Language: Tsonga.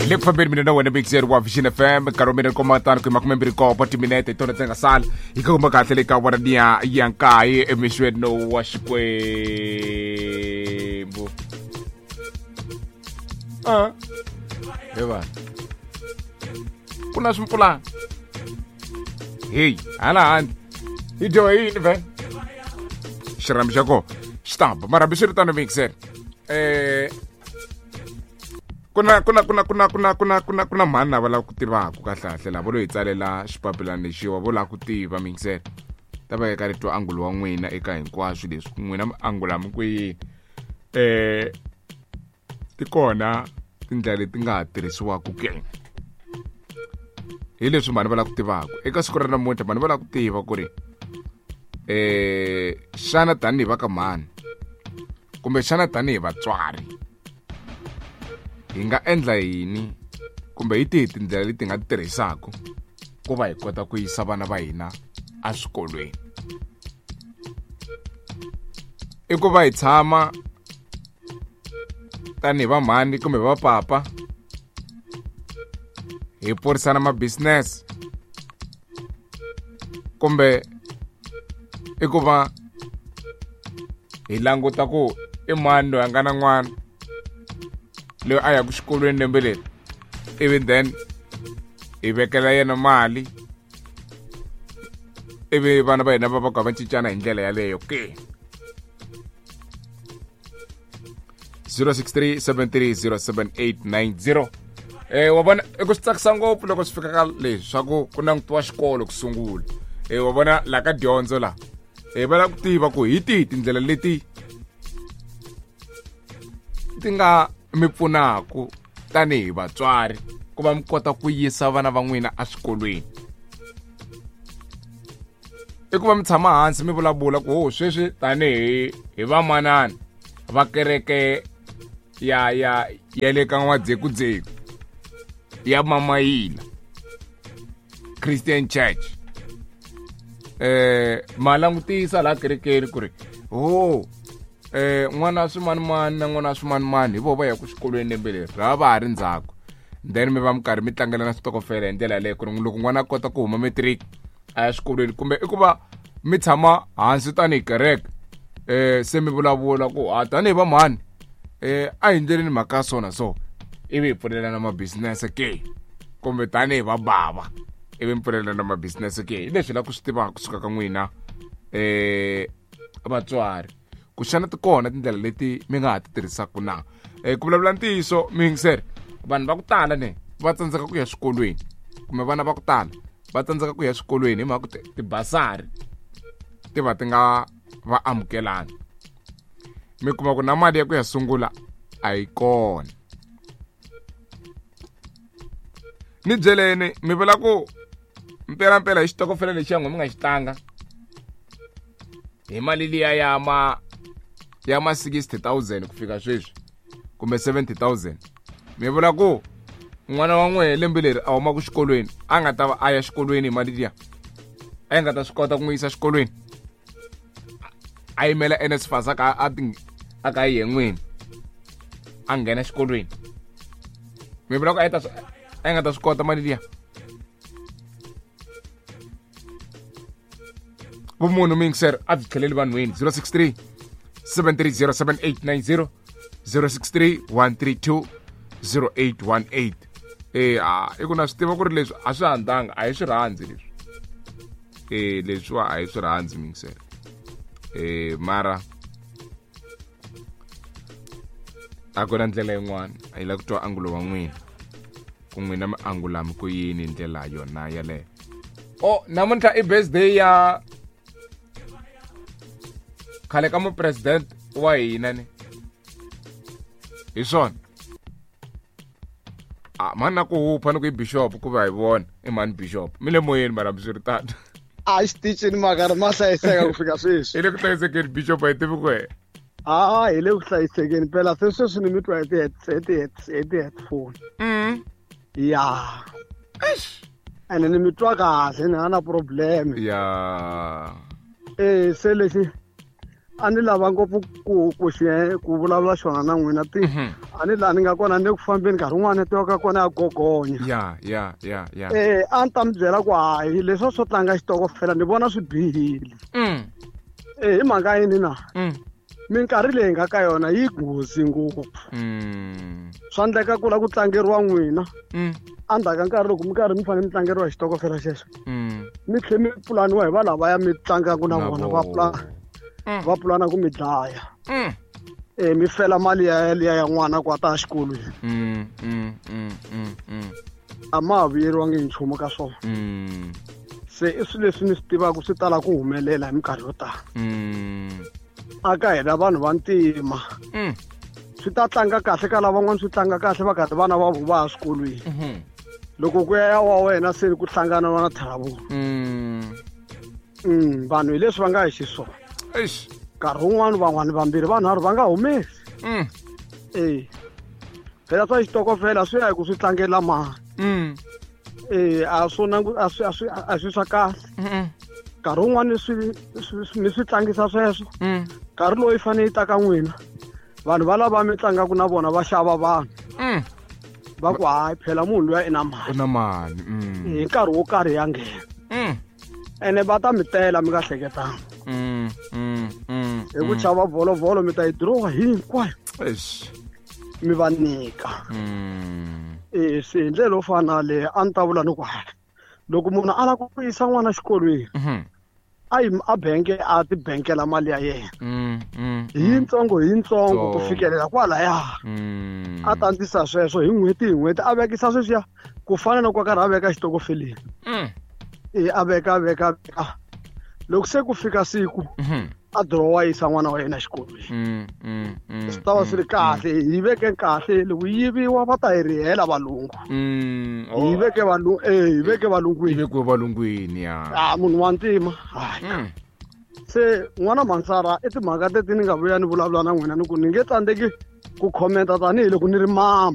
Hi le ku fambeni mina na wena mixer wa Vision FM, nkarhi wa mina ni koma tano ku 27 timinete hi tona ndzi nga sala hi kuma kahle le ka wona niya ya nkaye emixweni wa Xikwembu. Ah. He vanhu, ku na swimpfulana heyi hala handle, hi dyohe yini vhele? Xirhambi xa kona xi ta ba, mara hambiswiritano mixer, ku na mhani lava lava ku tivaka kahle kahle lava lo hi tsalela xipapilana lexiwa, vo lava ku tiva mixer ta va eka rito angulo wa n'wina eka hinkwaswo leswi n'wina mi angula mi ku yini. Ti kona tindlela leti nga ha tirhisiwaka ke? Hi leswi mhani va lava ku tivaka eka siku ra namuntlha. Mhani va lava ku tiva ku ri xana tanihi va ka mhani kumbe xana tanihi vatswari hi nga endla yini, kumbe hi tihi tindlela leti nga ti tirhisaka ku va hi kota ku yisa vana va hina eswikolweni? I ku va hi tshama tanihi va mhani kumbe va papa hi porisana ma-business, kumbe i ku va hi languta ku i mani loyi a nga na n'wana loyi a yaka xikolweni lembe leri, ivi then hi vekela yena mali, ivi vana va hina va va ka va cincana hi ndlela yaleyo ke? 063 7307890. Wa vona, i ku swi tsakisa ngopfu loko swi fika ka leswi swa ku ku langutiwa xikolo ku sungula. Wa vona la ka dyondzo la, va lava ku tiva ku hi tihi tindlela leti ti nga mi pfunaku tanihi vatswari ku va mi kota ku yisa vana va n'wina eswikolweni. I ku va mi tshama hansi mi vulavula ku ho sweswi tanihi hi vamanana va kereke ya le ka N'wadzekudzeku ya Mamayila Christian Church, ma langutisa laha kerekeni ku ri ho n'wana swimanimani na n'wana swimanimani hi vo va ya ku xikolweni lembe leri, ra va ha ri ndzhaku, then mi va mi karhi mi tlangela na switokofela hi ndlela yaleyo, ku ri loko n'wana a kota ku huma matric a ya xikolweni. Kumbe i ku va mi tshama hansi tanihi kereke, se mi vulavula ku a tanihi va mhani, a hi ndleleni mhaka ya so na so, ivi hi pfulelana ma-business ke, kumbe tanihi va bava ivi mi pfulelana ma-business ke? Hi leswi la ku swi tivaka kusuka ka n'wina vatswari, ku xana ti kona tindlela leti mi nga ha ti tirhisaka na? Ku vulavula ntiyiso miyingiseri, vanhu va ku tala ne va tsandzeka ku ya swikolweni, kumbe vana va ku tala va tsandzeka ku ya swikolweni hi mhaka ku tibasari ti va ti nga va amukelani, mi kuma ku na mali ya ku ya sungula a yi kona. Ni byeleni, mi vula ku mpelampela hi xitokofela lexiya n'we mi nga xi tlanga hi mali liya ya ma 60 000 ku fika sweswi, kumbe 70 000, mi vula ku n'wana wa n'wehe lembe leri a humaka xikolweni a nga ta va a ya xikolweni hi mali liya, a yi nga ta swi kota ku n'wi yisa xikolweni, a yimela NSFAS a ka a ka yi n'wini a nghena xikolweni? Mi vula ku a yi nga ta swi kota mali liya? Vumunhu mixer a byi tlheleli vanhwini. 063 730 7890, 063 132 0818. A i ku na swi tiva ku ri leswi a swi handzanga, a hi swi rhandzi leswi, leswiwa a hi swi rhandzi mixer, mara a ku na ndlela yin'wana. A yi lava ku twa angulo wa n'wina, ku n'wina mi angulami ku yini hi ndlela yona yaleyo. O namuntlha i birthday ya khale ka mupresident wa hina, ni hi swona a mhani na ku hupha ni ku i bishop, ku va hi vona i mhani bishop mi le moyeni, mara hambiswiritano. A xitichini makari ma hlayiseka ku fika sweswi. I le ku hlayisekeni bishop, a hi tivi ku wena. A hi le ku hlayisekeni phela, se sweswi ni mi twa hi ti-headphone. Ya, ene ni mi twa kahle, ni nga na problem. Se lexi A ni lava ngopfu ku ku xi ku vulavula xona na n'wina ti a ni laha ni nga kona ni le ku fambeni nkarhi wun'wana netiweke ya kona ya gogonya. Ya ya ya ya. A ni ta mi byela ku hayi leswa swo tlanga xitokofela ni vona swi bihile. Hi mhaka yini na? Minkarhi leyi nga ka yona yi nghozi ngopfu. Swa endleka ku la ku tlangeriwa n'wina. Endzhaku ka nkarhi loko mi karhi mi fanele mi tlangeriwa hi xitokofela xexo. Mi tlhe mi pulaniwa hi va lavaya mi tlangaka na vona va pulana. Va pulana ku mi dlaya. Mi fela mali ya liya ya n'wana ku a ta exikolweni. A ma ha vuyeriwangi hi nchumu ka swona. Se i swilo leswi ni swi tivaka swi tala ku humelela hi minkarhi yo tala. A ka hina vanhu va ntima. Swi ta tlanga kahle ka lavan'wana, swi tlanga kahle va karhi vana va vo va ya swikolweni. Loko ku ya ya wa wena se ku hlangana na trouble. Vanhu hi leswi va nga hi xiswona. Eish. Nkarhi wun'wani van'wani vambirhi vanharhu va nga humesi. Phela swa xitokofela swi ya hi ku swi tlangela mani. A swo nangu, a swi, a swi, a swi swa kahle. Nkarhi wun'wani mi swi tlangisa sweswo. Nkarhi lowu yi fanele yi ta ka n'wina. Vanhu va lava mi tlangaka na vona va xava vanhu. Va ku hayi phela munhu luya i na mali. U na mali. Hi nkarhi wo karhi ya nghena. Ene va ta mi tela mi nga hleketanga. Hi ku chava volovolo mi ta yi dirowa hinkwayo. Eish. Mi va nyika. Se hi ndlela yo fana na leyi a ni ta vula ni ku hayi. Loko munhu a lava ku yisa n'wana exikolweni, a yi a bank a ti bankela mali ya yena. Hi yitsongo hi yitsongo ku fikelela kwalaya. A ta ndlisa sweswo hi n'hweti hi n'hweti a vekisa sweswiya ku fana na ku a karhi a veka xitokofeleni. A veka, a veka, a veka. Loko se ku fika siku, a dirowa a yisa n'wana wa yena exikolweni. Swi ta va swi ri kahle, hi veke kahle, loko yi yiviwa va ta hi rihela valungu. Hi veke valungu, hi veke valungwini. Hi veke valungwini, ya. Munhu wa ntima. Hayi. Se n'wana Mansara i timhaka teti ni nga vuya ni vulavula na n'wina ni ku ni nge tsandzeki ku commenta tanihiloko ni ri mama.